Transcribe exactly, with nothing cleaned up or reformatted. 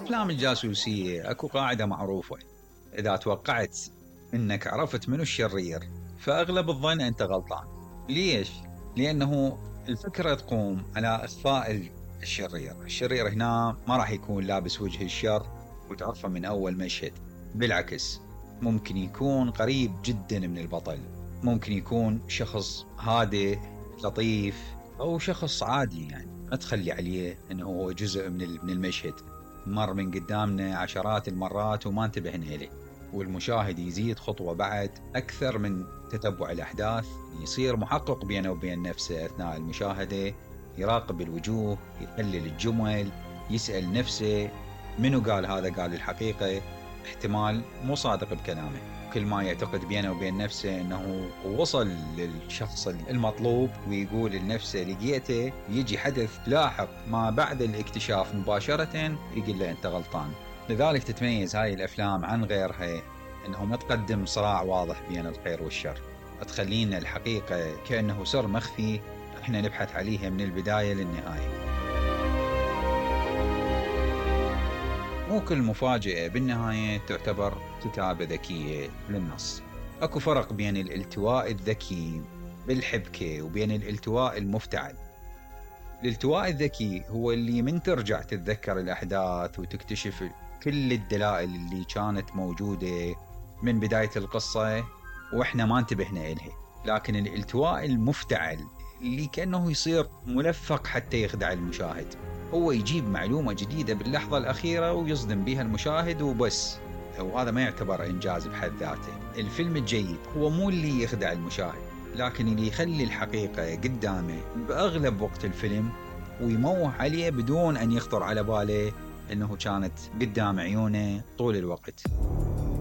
أفلام الجاسوسية أكو قاعدة معروفة: إذا توقعت أنك عرفت منو الشرير فأغلب الظن أنت غلطان. ليش؟ لأنه الفكرة تقوم على إخفاء الشرير. الشرير هنا ما راح يكون لابس وجه الشر وتعرفه من أول مشهد، بالعكس ممكن يكون قريب جدا من البطل، ممكن يكون شخص هادئ لطيف أو شخص عادي، يعني ما تخلي عليه أنه هو جزء من المشهد، مر من قدامنا عشرات المرات وما انتبهنا إليه. والمشاهد يزيد خطوة بعد أكثر من تتبع الأحداث، يصير محقق بينه وبين نفسه أثناء المشاهدة، يراقب الوجوه، يحلل الجمل، يسأل نفسه منو قال هذا، قال الحقيقة، احتمال مو صادق بكلامه. كل ما يعتقد بينه وبين نفسه أنه وصل للشخص المطلوب ويقول لنفسه لقيته، يجي حدث لاحق ما بعد الاكتشاف مباشرة يقول له أنت غلطان. لذلك تتميز هاي الأفلام عن غيرها أنه ما تقدم صراع واضح بين الخير والشر، تخلينا الحقيقة كأنه سر مخفي احنا نبحث عليها من البداية للنهاية. مو كل مفاجأة بالنهاية تعتبر كتابة ذكية للنص. اكو فرق بين الالتواء الذكي بالحبكة وبين الالتواء المفتعل. الالتواء الذكي هو اللي من ترجع تتذكر الأحداث وتكتشف كل الدلائل اللي كانت موجودة من بداية القصة وإحنا ما انتبهنا إلها. لكن الالتواء المفتعل اللي كأنه يصير ملفق حتى يخدع المشاهد، هو يجيب معلومة جديدة باللحظة الأخيرة ويصدم بها المشاهد وبس، وهذا ما يعتبر إنجاز بحد ذاته. الفيلم الجيد هو مو اللي يخدع المشاهد، لكن اللي يخلي الحقيقة قدامه بأغلب وقت الفيلم ويموه عليه بدون أن يخطر على باله أنه كانت قدام عيونه طول الوقت.